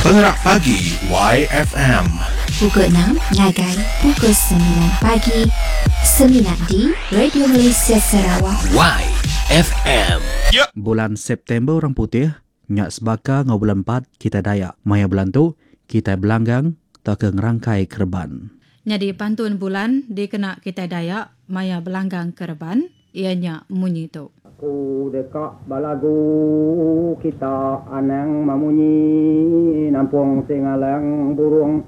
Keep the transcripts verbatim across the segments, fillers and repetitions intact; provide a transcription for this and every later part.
Pengerak Pagi Y F M. Pukul enam ngagai pukul semilan pagi. Semina di Radio Malaysia Sarawak. Y F M. Bulan September orang putih nya sebaka enggau bulan empat kita Dayak. Maya bulan tu, kita belanggang tauka ngerangkai kereban. Jadi pantun bulan dikena kita Dayak maya belanggang kereban ianya munyi tu. Aku deka belagu kita anang memunyi nampung singalang burung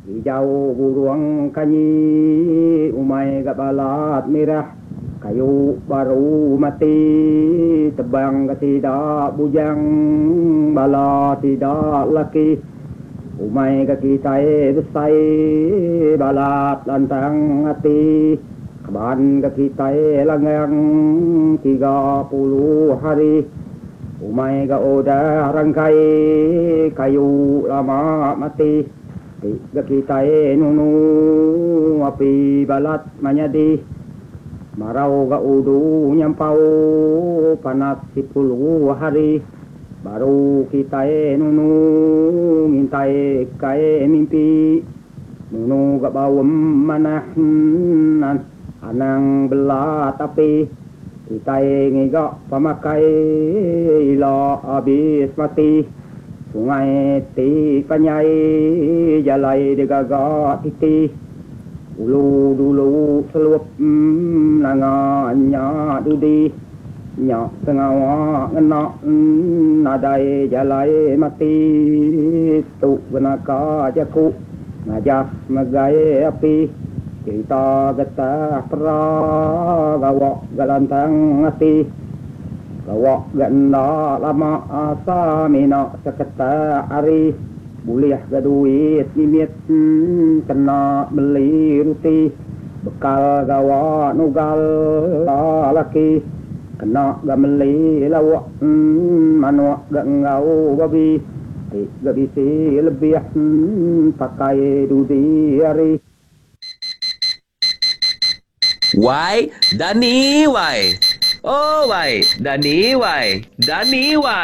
hijau burung kanyi umai gak balat merah kayu baru mati tebang ke tidak bujang bala tidak laki umai ke kita besai balat lantang hati keban ke kita langgang tiga puluh hari umai ke udah rangkai kayu lama mati ti ke kita nunu api balat menyadi marau ke udu nyampau panas sepuluh hari baru kita nunu ngintai kai mimpi nunu ke bawem manah anang bela tapi kita ngigak pemakai ila habis mati sungai ti panyai jalai digagak titi ulu dulu selup nanga nya dudi nya sengawa ngena nadai jalai mati tu benaka jaku ngajah megai api cerita getah pera gawak galantang hati gawak ganda lama asa mina seketak hari boleh ga duit mimit kena beli roti bekal gawa nugal laki kena ga beli lawak manuk ga ngau babi ga bisi lebih pakai dudi hari. Y Dani Y. Oh Y Dani Y Dani Y.